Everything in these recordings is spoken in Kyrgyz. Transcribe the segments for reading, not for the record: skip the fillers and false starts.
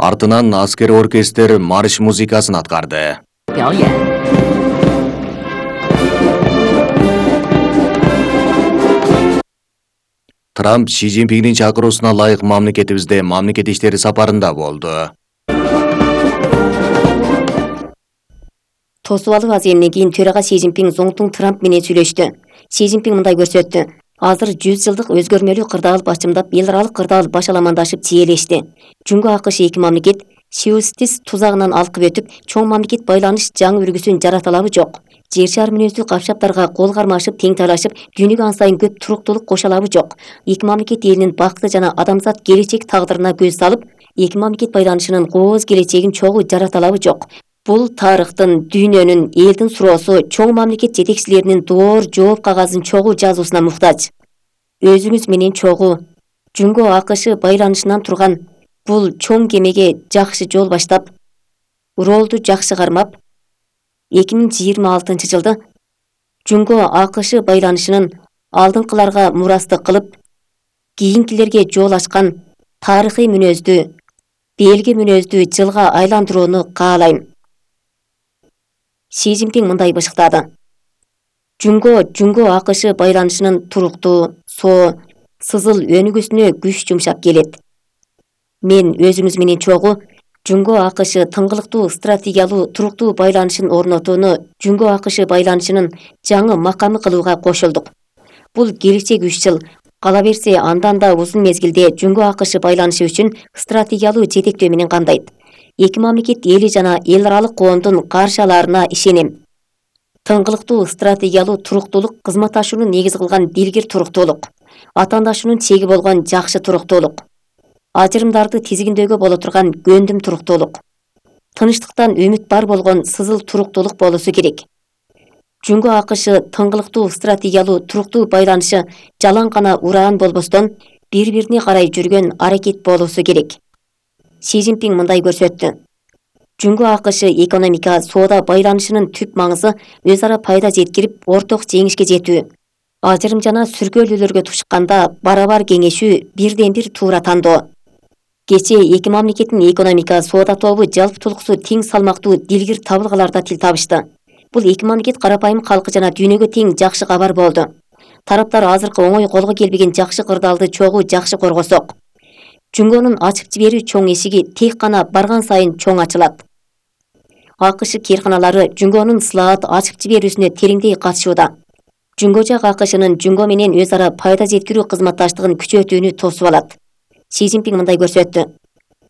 Артынан аскер оркестр марш музыкасын аткарды. 表演。 Трамп Си Цзиньпиндин чакыруусуна ылайык мамлекетибизде мамлекет иштери сапарында болду. Тосуп алуу аземинен кийин төрага Си Цзиньпин Зоңтун Трамп менен сүйлөштү. Си Цзиньпин мындай көрсөттү. Азыр 100 жылдык өзгөрмөлүү кырдаал башчымдап, эл аралык кырдаал башаламандашып тиелешти. Жунго АКШ эки мамлекет Сиустис тузагынан алкып өтүп, чоң мамлекет байланыш жаңы үлгүсүн жарата алабы жок. Жер шар мүнөздүү капшаптарга кол кармашып, тең талашып, дүйнөгө ан сайын көп туруктуулук кошо алабы жок. Эки мамлекет элинин бакыты жана адамзат келечек тагдырына көз салып, эки мамлекет байланышынын кооз келечегин чогуу жарата алабы жок. Бул тарыхтын, дүйнөнүн, элдин суроосу, чоң мамлекет жетекчилеринин доор жооп кагазын чогуу жазуусуна муктаж. Өзүңүз менен чогуу Жунго АКШ байланышынан турган бул чоң кемеге жакшы жол баштап, ролду жакшы кармап, 2026 жылды Жунго АКШ байланышынын алдыңкыларга мурастык кылып, кийинкилерге жол ачкан тарыхый мүнөздүү, белги мүнөздүү жылга айландырууну каалайм. Си Цзиньпин мындай бышыктады. Жунго АКШ байланышынын туруктуу, соо, сызыл өнүгүүсүнө күч жумшап келет. Мен өзүңүз менен чогуу Жунго АКШ тыңгылыктуу стратегиялуу туруктуу байланышын орнотууну Жунго АКШ байланышынын жаңы макамы кылууга кошулдук. Бул келечек 3 жыл, кала берсе андан да узун мезгилде Жунго АКШ байланышы үчүн стратегиялуу жетектөө менен камдайт. Эки мамлекет эли жана эл аралык коомдун каршы алаарына ишенем. Тыңгылыктуу стратегиялуу туруктуулук кызматташууну негиз кылган дилгир туруктуулук, атаандашуунун чеги болгон жакшы туруктуулук, ажырымдарды тизгиндөөгө боло турган көндүм туруктуулук, тынчтыктан үмүт бар болгон сызыл туруктуулук болуусу керек. Жунго АКШ тыңгылыктуу стратегиялуу туруктуу байланышы жалаң гана ураан болбостон бири-бирине карай жүргөн аракет болуусу керек. Си Цзиньпин мындай көрсөттү. Жунго АКШ экономика, соода байланышынын түп маңызы өз ара пайда жеткирип, орток жеңишке жетүү. Ажырым жана сүркөөлүүлөргө тушканда барабар кеңешүү, бирден бир туура тандоо. Кечээ эки мамлекеттин экономика, соода тобу жалпытуулуксу тең салмактуу дилгир табылгаларда тил табышты. Бул эки мамлекет карапайым калкы жана дүйнөгө тең жакшы кабар болду. Тараптар азыркы оңой колго келбеген жакшы кырдаалды чогуу жакшы коргосок. Жунгонун ачып жиберүү чоң эшиги тек гана барган сайын чоң ачылат. АКШ кээрканалары Жунгонун слаат ачып жиберүүсүнө тереңдей катышууда. Жунго жак АКШнын Жунго менен өз ара пайда жеткирүү кызматташтыгын күчөтүүнү тосуп алат. Си Цзиньпин мындай көрсөттү.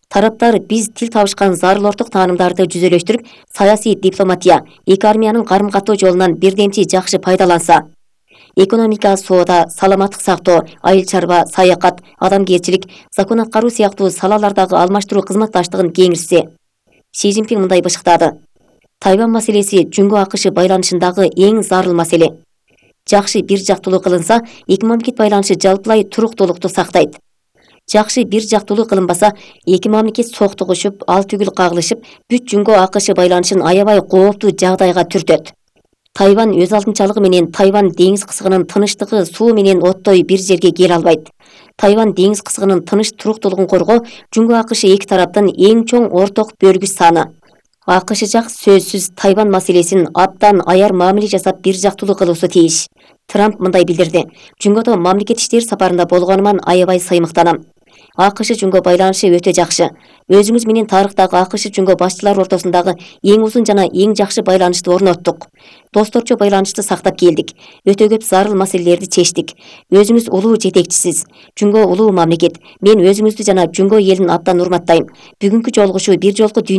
Тараптар биз тил табышкан зарыл орток таанымдарды жүзөлөштүрүп, саясий дипломатия, эки армиянын карым-каттоо жолунан бирдемчи жакшы пайдаланса. Экономика, соода, саламаттык сактоо, айыл чарба, саякат, адамгерчилик, закон аткаруу сыяктуу салалардагы алмаштыруу кызматташтыгын кеңирсе. Си Цзиньпин мындай бышыктады. Тайвань маселеси Жунго АКШ байланышындагы эң зарыл маселе. Жакшы бир жактуулуу кылынса, эки мамлекет байланышы жалпылай туруктуулукту сактайт. Жакшы бир жактуулуу кылынбаса, эки мамлекет соктугушуп, ал түгүл кагылышып, бүт Жунго АКШ байланышын аябай кооптуу жагдайга түртөт. Тайвань өз алдынчалыгы менен Тайвань деңиз кысыгынын тынычтыгы суу менен оттой бир жерге кел албайт. Тайвань деңиз кысыгынын тыныч туруктуулугун коргоо Жунго АКШ эки тараптын эң чоң орток бөлгүч саны. АКШ жак сөзсүз Тайвань маселесин абдан аяр мамиле жасап бир жактуулуу кылуусу тийиш. Трамп мындай билдирди. Жунгодо мамлекет иштери сапарында болгонуман аябай сыймыктанам. АКШ Жунго байланышы өтө жакшы. Өзүңүз менен тарыхтагы АКШ Жунго башчылар ортосундагы эң узун жана эң жакшы байланышты орноттук. Досторчо байланышты сактап келдик. Өтө көп зарыл маселелерди чечтик. Өзүңүз улуу жетекчисиз. Жунго улуу мамлекет. Мен өзүңүздү жана Жунго элин абдан урматтайм. Бүгүнкү жолугушуу бир жолку дүйнө